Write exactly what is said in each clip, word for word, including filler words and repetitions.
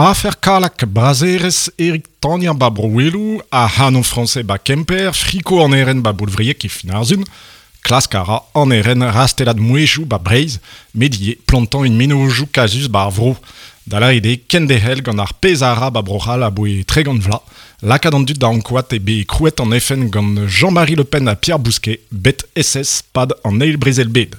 Afer Kalak, brazerez Eric Tania ba Brouelou, a Hanon Français ba Kemper, friko an eren ba Boulvriek e Finarzun, klask a ra an eren rastelat mouejou ba Breiz, medie plantan un menojou kazus ba ar vro. Dala ede kendehel gant ar pez a ra ba brochal a boe tregant vla, lakad an dud da ankouat e be krouet an F N gant Jean-Marie Le Pen a Pierre Bousquet, bet S S pad an eil brezel bed.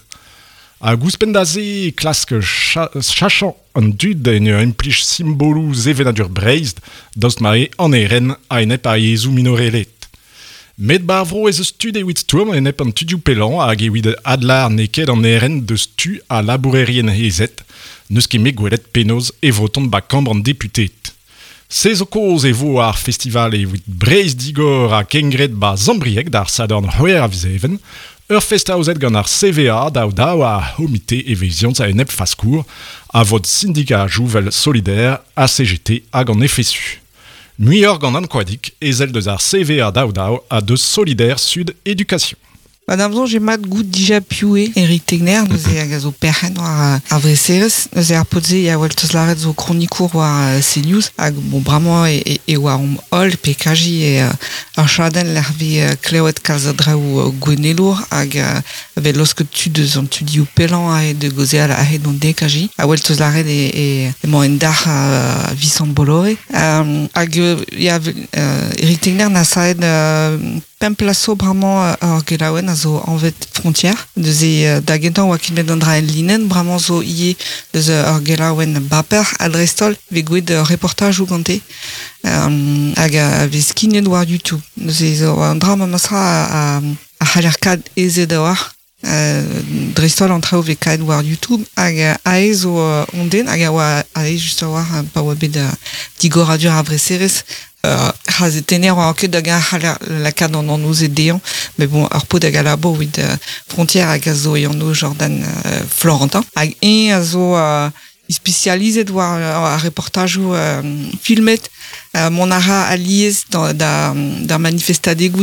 A gouspen da ze klask chachan an dud en ur implij simbolou zevenadur Breiz, daoust ma eo an eren a enep ar yezhoù minorelet. Met bar vro ez eus tud evit stourm enep an tudioù pellañ hag evit adlar n'eo ket an eren deus tu a labourerien hezet, n'eus ket met gwelet penaos e voton ba kambr an deputeed. Se zo kozh e vo ar festival evit Breizh digor ha kengred ba Zambrieg d'ar Sadorn c'hwec'h a viz Even, ur fest aozet gant ar C V A daou daou a c'homite eveziant a enep faskour a vod syndikat Jouvel Solidaire, A C G T hag an F S U. Muioc'h gant an koadik, ezel deus ar C V A daou daou a deus Solidaire Sud Éducation. Madame Zon, j'ai mat gout dija pioué Eric Tegner, nous e hag a zo perc'hen war ar vreserez, nous e ar potze ya wel teus laret zo kronikour war CNews, hag bon bramañ e, e, e war om holl pe kaji e ar chadenn lec'h vi klevet kalz a draoù gwenelour hag ve losket tud eus an tudioù pellañ a e de gozeal a hed an de kaji, a wel teus laret e, e, emañ en dac'h a Vicente Bolloré. Um, hag ya, uh, Eric Tegner na saet uh, pemp plaso bramañ ar gelaouen a zo anvet Frontière. Deus e da gentañ oa ket bet an dra en linen, bramañ zo ivez deus ar gelaouen baper a dreist-holl ve gwelet ur reportaj ou gante. Um, hag a vez skignet war YouTube. Deus e zo an dra ma masra a, a, a c'haller kad ezet a war. Euh, dreist-holl an traoù vez kaet war YouTube hag ae zo uh, on den hag a oa ae just a war pa oa bet uh, digoradur ar vreserez. Euh, c'hazetenner oa ket da gañ c'haller lakaat an anv ze dezhañ, met bon, ur pod hag a labour evit, euh, Frontière hag a zo e anv Jordan, euh, Florentin. Hag eñ a zo, euh, spécialisé war, euh, ar reportajoù, euh, filmet, euh, mont a ra alies da, da, da manifestadegoù